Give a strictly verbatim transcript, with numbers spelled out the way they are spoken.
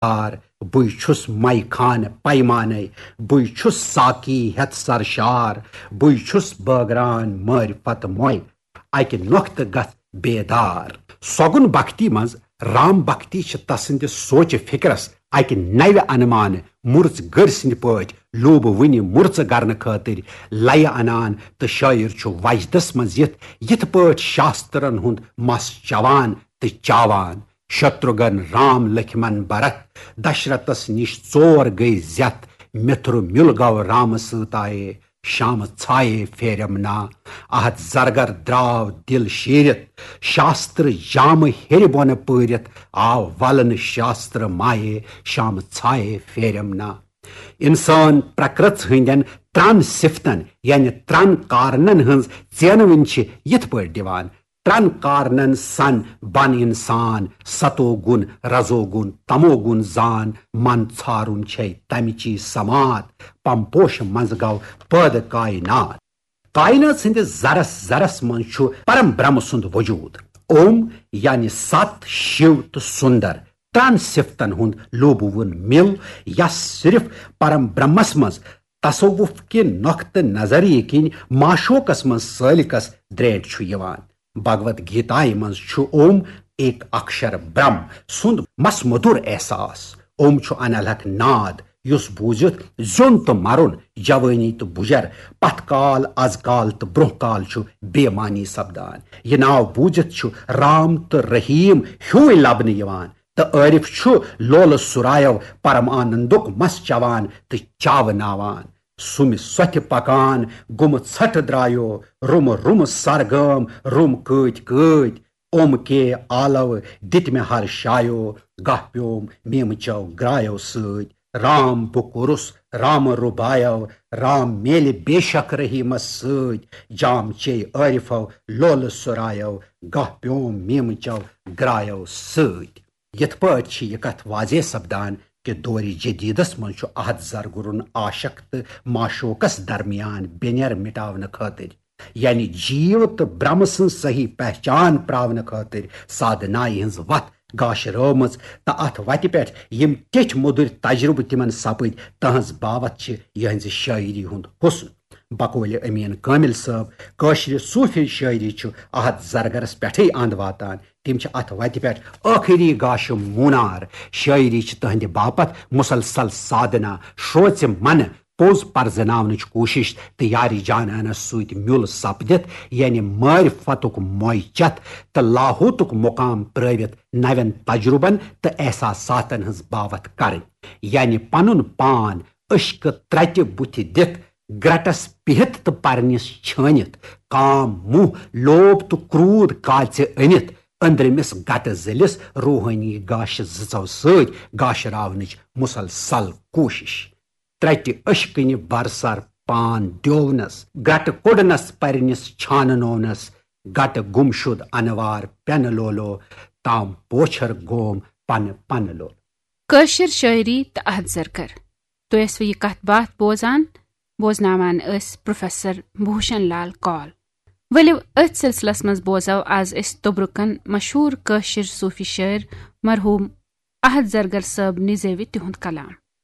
یار، بٕے چھُس مے خانہٕ پیمانَے، بٕے چھُس ساقی ہٮ۪تھ سرشار، بٕے چھُس بٲگران معرفت موے، اَکہِ نۄختہٕ گژھ بیدار۔ سۄگُن بھکتی منٛز رام بھکتی چھِ تسٕنٛدِ سوچہِ فِکرس اَکہِ نوِ انمانہٕ مُرژ گٔرۍ سٕنٛدِ پٲٹھۍ لوٗبہٕ وٕنہِ مُرژٕ کرنہٕ خٲطرٕ لیہِ انان، تہٕ شٲعر چھُ وجدس منٛز یِتھ یِتھ پٲٹھۍ شاسترن ہُنٛد مس چوان تہٕ چاوان۔ شتروگن، رام، لکھمن، بھرت، دشرتس نِش ژور گٔے زیتھ، مِتھرُ مِل گوٚو رامہٕ سۭتۍ آیے، شامہٕ ژھایے پھیرم نا۔ احد زرگر درٛاو دِل شیٖرِتھ، شاستر جامہٕ ہیٚرِ بۄنہٕ پٲرِتھ، آو ولنہٕ شاستر مایے، شامہٕ ژھایے پھیرم نا۔ انسان پرکرژ ہٕنٛدٮ۪ن ترٛن صفتن، یعنی ترٛن کارنن ہٕنٛز ژینوٕنۍ چھِ یِتھ پٲٹھۍ دِوان، ترٛن کارنن سن بن انسان، ستو گُن، رزو گُن، تمو گُن زان، من ژھارُن چھے تمچی سماعت، پم پوشہٕ منٛز گوٚو پٲدٕ کائنات۔ کائنات سٕنٛدِس ذرس ذرس منٛز چھُ پرم برہم سُنٛد وجود۔ اوم یعنی ست، شیو تہٕ سُندر، ترٛن صفتن ہُنٛد لوٗبہٕ وُن مِل، یس صرف پرم برہمس منٛز تصوف کہِ نۄقطہٕ نظریہِ کِنۍ معشوقس منٛز سٲلِکس درینٹھ چھُ یِوان۔ بھگوت گیتایہِ منٛز چھُ اوم ایک اکشر برہم سُنٛد مس مدُر احساس۔ اوم چھُ انالہک ناد، یُس بوٗزِتھ زیوٚن تہٕ مرُن، جوٲنی تہٕ بُجر، پتھ کال، از کال تہٕ برونٛہہ کال چھُ بے معنی سپدان۔ یہِ ناو بوٗزِتھ چھُ رام تہٕ رحیم ہیوٗے لبنہٕ یِوان، تہٕ عٲرف چھُ لولہٕ سُرایو پرم آنندُک مس چوان تہٕ چاوناوان۔ سُمہِ سۄتھِ پکان گُمہٕ ژھٹھ درایو، رُمہٕ رُمہٕ سرگٲم، رُم کۭتۍ کۭتۍ۔ اوم کے آلو دِتۍ مےٚ ہر شایو، گاہ پیوم میمہٕ چو گرایو سۭتۍ۔ رام بہٕ کوٚرُس رامہٕ رُبایو، رام میلہِ بے شک رحیمس سۭتۍ۔ جام چے عٲرفو لولہٕ سُرایو، گاہ پیوم میمہٕ چو گرایو سۭتۍ۔ یِتھ پٲٹھۍ چھِ یہِ کتھ واضح سپدان کہِ دورِ جدیدس منٛز چھُ احد زرگرُن عاشق تہٕ معشوقس درمیان بینر مٹاونہٕ خٲطرٕ، یعنی جیو تہٕ برہم سٕنٛز صحیح پہچان پراونہٕ خٲطرٕ سادھنایہِ ہٕنٛز وتھ گاشرٲومٕژ، تہٕ اتھ وتہِ پٮ۪ٹھ یِم ٹیٹھۍ مٔدٕرۍ تجربہٕ تِمن سپٕدۍ، تہنٛز باوتھ چھِ یِہنٛزِ شٲعری ہُنٛد حسن۔ بقولِ امین کامل صٲب، کٲشرِ صوفی شٲعری چھُ احد زرگرس پٮ۪ٹھٕے اند واتان۔ تِم چھِ اتھ وتہِ پٮ۪ٹھ ٲخری گاشہِ مونار۔ شٲعری چھِ تہنٛدِ باپتھ مسلسل سادھنا، شروژِ منہٕ پوٚز پرزناونٕچ کوٗشش تہٕ یارِ جانانس سۭتۍ میُل سپدِتھ، یعنی معرفتُک موے چتھ تہٕ لاہوتُک مقام پرٲوِتھ نوٮ۪ن تجربن تہٕ احساساتن ہٕنٛز باوتھ کرٕنۍ، یعنی پنُن پان عشقہٕ ترٹہِ بُتھِ دِتھ، گرٹس پِہِتھ تہٕ پرنِس چھٲنِتھ، کام، موہ، لوب تہٕ کرود کالژِ أنِتھ، أنٛدرِمِس گٹہٕ ذٔلِس روحٲنی گاشہِ زٕژو سۭتۍ گاشراونٕچ مسلسل کوٗشش۔ ترٹہِ عشقٕنہِ برسر پان دیوونس، گٹہٕ کوٚڑنس پرنِس چھاننوونس، گٹہٕ گمشد انوار پٮ۪نہٕ لولو، تام پوچھر گوم پنہٕ پنہٕ لولو۔ کٲشِر شٲعری تہٕ احد زرگر۔ تُہۍ ٲسوٕ یہِ کتھ باتھ بوزان، بوزناوان ٲسۍ پروفیسر بھوشن لال کال۔ ؤلِو، أتھۍ سلسلس منٛز بوزو از أسۍ توٚبرُکن مشہوٗر کٲشِر صوٗفی شٲعر مرحوٗم احد زرگر صٲب نِزیوِ تِہُنٛد کلام۔